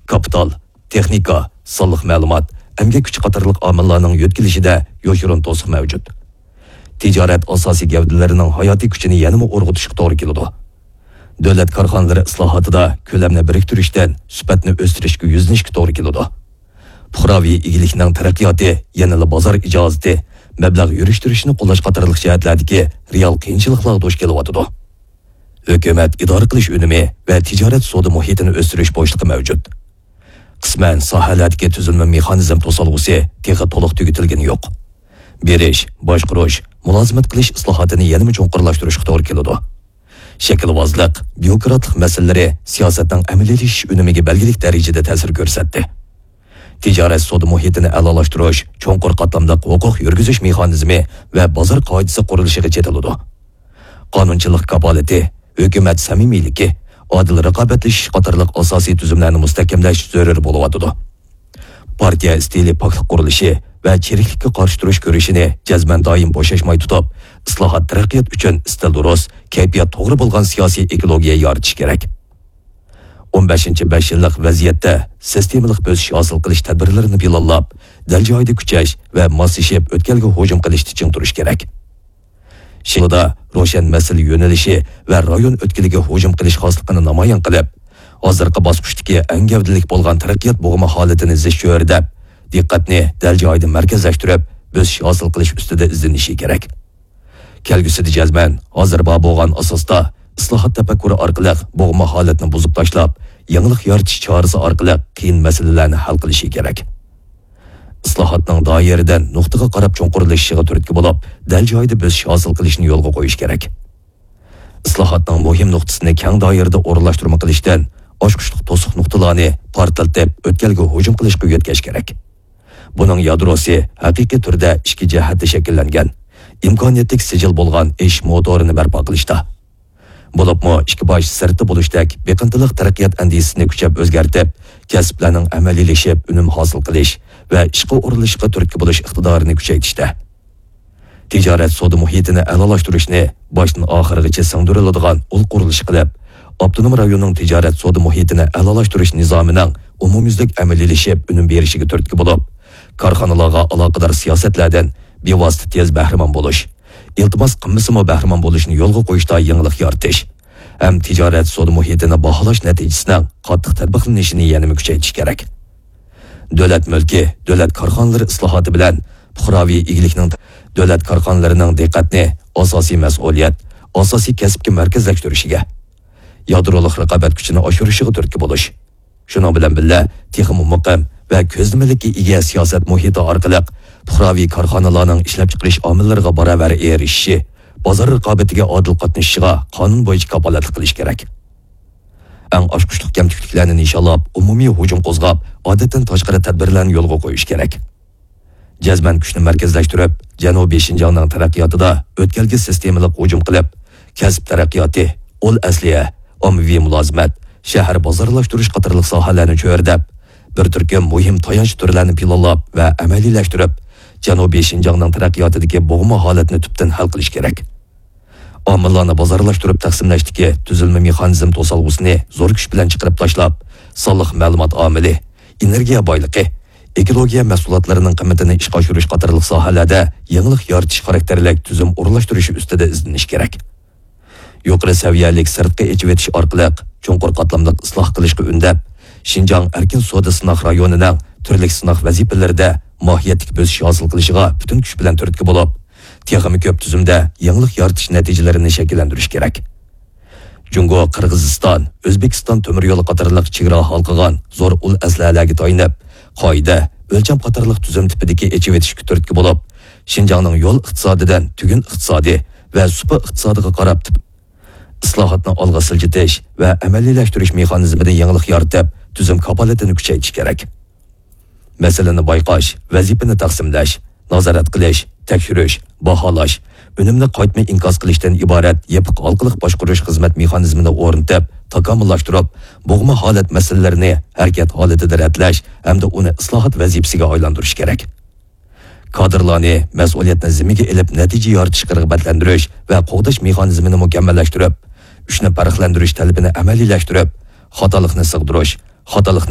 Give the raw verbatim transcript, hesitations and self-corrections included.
كاپىتال، تېخنىكا، سانلىق مەلۇمات، ئەمگەك كۈچى قاتارلىق ئامىللارنىڭ يۆتكىلىشىدە يوشۇرۇن توسۇق مەۋجۇت. تىجارەت ئاساسىي گەۋدىلىرىنىڭ ھاياتىي كۈچىنى يەنىمۇ ئۇرغۇتۇشقا توغرا كېلىدۇ. دۆلەت كارخانىلىرى ئىسلاھاتىدا كۆلەمنى بىرىكتۈرۈشتىن سۈپەتنى ئۆستۈرۈشكە يۈزلىنىشكە توغرا كېلىدۇ. پۇقراۋى ئىگىلىكنىڭ تەرەققىياتى يەنىلا بازار ئىجازىتى، مەبلەغ يۈرۈشتۈرۈشنى قوللاش قاتارلىق جەھەتلەردىكى رېئال قىيىنچىلىقلارغا دۇچ كېلىۋاتىدۇ. ھۆكۈمەت ئىدارە قىلىش ئۈنۈمى ۋە تىجارەت سودا مۇھىتىنى ئۆستۈرۈش بوشلۇقى مەۋجۇت. قىسمەن ساھەلەردىكى تۈزۈلمە مېخانىزم توسالغۇسى تېخى تولۇق تۈگىتىلگىنى يوق. بېرىش، باشقۇرۇش، مۇلازىمەت قىلىش ئىسلاھاتىنى يەنىمۇ چوڭقۇرلاشتۇرۇشقا توغرا كېلىدۇ. شەكىلۋازلىق، بيۇروكراتلىق مەسىلىلىرى سىياسەتنىڭ ئەمەلىيلىشىش ئۈنۈمىگە بەلگىلىك دەرىجىدە تەسىر كۆرسەتتى. تىجارەت سودا مۇھىتىنى ئەلالاشتۇرۇش، چوڭقۇر قاتلاملىق ھوقۇق يۈرگۈزۈش مېخانىزمى ۋە بازار قائىدىسى قۇرۇلۇشىغا چېتىلىدۇ. قانۇنچىلىق كاپالىتى، ھۆكۈمەت سەمىمىيلىكى، ئادىل رىقابەتلىشىش قاتارلىق ئاساسىي تۈزۈملەرنى مۇستەھكەملەش زۆرۈر بولۇۋاتىدۇ. پارتىيە ئىستىلى پاكلىق قۇرۇلۇشى ۋە چىرىكلىككە قارشى تۇرۇش كۈرىشىنى جەزمەن دائىم بوشاشماي تۇتۇپ، ئىسلاھات تەرەققىيات ئۈچۈن ئىستىل دۇرۇس، كەيپىيات توغرا بولغان سىياسىي ئېكولوگىيە يارىتىش كېرەك. ئون بەشىنچى بەش يىللىق ۋەزىيەتتە سىستېمىلىق بۆسۈش ھاسىل قىلىش تەدبىرلىرىنى پىلانلاپ، دەل جايىدا كۈچەش ۋە ماسلىشىپ ئۆتكەلگە ھۇجۇم قىلىشتا چىڭ تۇرۇش كېرەك. شىنجاڭدا روشەن مەسىلە يۆنىلىشى ۋە رايون ئۆتكىلىگە ھۇجۇم قىلىش خاسلىقىنى نامايان قىلىپ، ھازىرقى باسقۇچتىكى ئەڭ گەۋدىلىك بولغان تەرەققىيات بوغۇمى ھالىتىنى زىچ چۆرىدەپ، دىققەتنى دەل جايىدا مەركەزلەشتۈرۈپ، بۆسۈش ھاسىل قىلىش ئۈستىدە ئىزدىنىشى كېرەك. كەلگۈسىدە جەزمەن ھازىر بار بولغان ئاساستا ئىسلاھات تەپەككۇرى ئارقىلىق بوغما ھالەتنى بۇزۇپ تاشلاپ، يېڭىلىق يارىتىش چارىسى ئارقىلىق قىيىن مەسىلىلەرنى ھەل قىلىشى كېرەك. ئىسلاھاتنىڭ دائىرىدىن نۇقتىغا قاراپ چوڭقۇرلىشىشىغا تۈرتكە بولۇپ، دەل جايىدا بۆسۈش ھاسىل قىلىشنى يولغا قويۇش كېرەك. ئىسلاھاتنىڭ مۇھىم نۇقتىسىنى كەڭ دائىرىدە ئورۇنلاشتۇرما قىلىشتىن، ئاچقۇچلۇق توسۇق نۇقتىلارنى پارتلىتىپ، ئۆتكەلگە ھۇجۇم قىلىشقا يۆتكەش كېرەك. بۇنىڭ يادروسى ھەقىقىي تۈردە ئىككى جەھەتتە شەكىللەنگەن، ئىمكانىيەتلىك سىجىل بولغان ئېشىش موتورىنى بەرپا قىلىشتا. بولۇپمۇ ئىككى باش سىرتتا بولۇشتەك بېقىندىلىق تەرەققىيات ئەندىزىسىنى كۈچەپ ئۆزگەرتىپ، كەسىپلەرنىڭ ئەمەلىيلىشىپ ئۈنۈم ھاسىل قىلىش ۋە ئىشقا ئورۇنلىشىشقا تۈرتكە بولۇش ئىقتىدارىنى كۈچەيتىشتە. تىجارەت سودا مۇھىتىنى ئەلالاشتۇرۇشنى باشتىن ئاخىرغىچە سىڭدۈرۈلىدىغان ئۇل قۇرۇلۇش قىلىپ، ئاپتونوم رايوننىڭ تىجارەت سودا مۇھىتىنى ئەلالاشتۇرۇش نىزامىنىڭ ئومۇميۈزلۈك ئەمەلىيلىشىپ ئۈنۈم بېرىشىگە تۈرتكە بولۇپ، كارخانىلارغا ئالاقىدار سىياسەتلەردىن بىۋاسىتە تېز بەھرىمەن بولۇش، ئىلتىماس قىلمىسىمۇ بەھرىمەن بولۇشنى يولغا قويۇشتا يېڭىلىق يارىتىش ھەم تىجارەت سودا مۇھىتىنى باھالاش نەتىجىسىنىڭ قاتتىق تەتبىقلىنىشىنى يەنىمۇ كۈچەيتىش كېرەك. دۆلەت مۈلكى، دۆلەت كارخانىلىرى ئىسلاھاتى بىلەن پۇقراۋى ئىگىلىكنىڭ، دۆلەت كارخانىلىرىنىڭ دىققەتنى ئاساسىي مەسئۇلىيەت، ئاساسىي كەسىپكە مەركەزلەشتۈرۈشىگە، يادرولۇق رىقابەت كۈچىنى ئاشۇرۇشىغا تۈرتكە بولۇش، شۇنىڭ بىلەن بىللە، تېخىمۇ مۇقىم ۋە كۆزلىمىلىككە ئىگە سىياسەت مۇھىتى ئارقىلىق پۇقراۋى كارخانىلارنىڭ ئىشلەپچىقىرىش ئامىللىرىغا باراۋەر ئېرىشىشى، بازار رىقابىتىگە ئادىل قاتنىشىشىغا قانۇن بويىچە كاپالەتلىك قىلىش كېرەك. ئەڭ ئاچقۇچلۇق كەمتۈكلۈكلەرنى نىشانلاپ، ئومۇمىي ھۇجۇم قوزغاپ، ئادەتتىن تاشقىرى تەدبىرلەرنى يولغا قويۇش كېرەك. جەزمەن كۈچنى مەركەزلەشتۈرۈپ، جەنۇبىي شىنجاڭنىڭ تەرەققىياتىدا ئۆتكەلگە سىستېمىلىق ھۇجۇم قىلىپ، كەسىپ تەرەققىياتى، ئۇل ئەسلىھە، ئاممىۋى مۇلازىمەت، شەھەر بازارلاشتۇرۇش قاتارلىق ساھەلەرنى چۆرىدەپ، بىر تۈركۈم مۇھىم تايانچ تۈرلەرنى پىلانلاپ ۋە ئەمەلىيلەشتۈرۈپ، جەنۇبىي شىنجاڭنىڭ تەرەققىياتىدىكى بوغما ھالەتنى تۈپتىن ھەل قىلىش كېرەك. ئامىللارنى بازارلاشتۇرۇپ تەقسىملەشتىكى تۈزۈلمە مېخانىزم توسالغۇسىنى زور كۈچ بىلەن چىقىرىپ تاشلاپ، سانلىق مەلۇمات ئامىلى، ئېنېرگىيە بايلىقى، ئېكولوگىيە مەھسۇلاتلىرىنىڭ قىممىتىنى ئىشقا ئاشۇرۇش قاتارلىق ساھەلەردە يېڭىلىق يارىتىش خاراكتېرلىك تۈزۈم ئورۇنلاشتۇرۇشى ئۈستىدە ئىزدىنىش كېرەك. يۇقىرى سەۋىيەلىك سىرتقا ئېچىۋېتىش ئارقىلىق چوڭقۇر قاتلاملىق ئىسلاھ قىلىشقا ئۈندەپ، شىنجاڭ ئەركىن سودا سىناق رايونىنىڭ تۈرلۈك سىناق ۋەزىپىلىرىدە ماھىيەتلىك بۆسۈش ھاسىل قىلىشىغا پۈتۈن كۈچ بىلەن تۈرتكە بولۇپ، تېخىمۇ كۆپ تۈزۈمدە يېڭىلىق يارىتىش نەتىجىلىرىنى شەكىللەندۈرۈش كېرەك. جۇڭگو، قىرغىزىستان، ئۆزبېكىستان تۆمۈر يولى قاتارلىق چېگرا ھالقىغان زور ئۇل ئەسلىھەلەرگە تايىنىپ، قائىدە، ئۆلچەم قاتارلىق تۈزۈم تىپىدىكى ئېچىۋېتىشكە تۈرتكە بولۇپ، شىنجاڭنىڭ يول ئىقتىسادىدىن تۈگۈن ئىقتىسادى ۋە سۇپا ئىقتىسادىغا قاراپ تىپ-، ئىسلاھاتنى ئالغا سىلجىتىش ۋە ئەمەلىيلەشتۈرۈش مېخانىزمىدا يېڭىلىق يارىتىپ، تۈزۈم كاپالىتىنى كۈچەيتىش كېرەك. مەسىلىنى بايقاش، ۋەزىپىنى تەقسىملەش، نازارەت قىلىش، تەكشۈرۈش، باھالاش، ئۈنۈمنى قايتما ئىنكاس قىلىشتىن ئىبارەت يېپىق ھالقىلىق باشقۇرۇش خىزمەت مېخانىزمىنى ئورنىتىپ، تاكامۇللاشتۇرۇپ، بوغما ھالەت مەسىلىلىرىنى ھەرىكەت ھالىتىدە رەتلەش ھەمدە ئۇنى ئىسلاھات ۋەزىپىسىگە ئايلاندۇرۇش كېرەك. كادىرلارنى مەسئۇلىيەتنى زىممىگە ئېلىپ، نەتىجە يارىتىشقا رىغبەتلەندۈرۈش ۋە قوغداش مېخانىزمىنى مۇكەممەللەشتۈرۈپ، ئۈچنى پەرقلەندۈرۈش تەلىپىنى ئەمەلىيلەشتۈرۈپ، خاتالىقنى سىغدۇرۇش، خاتالىقنى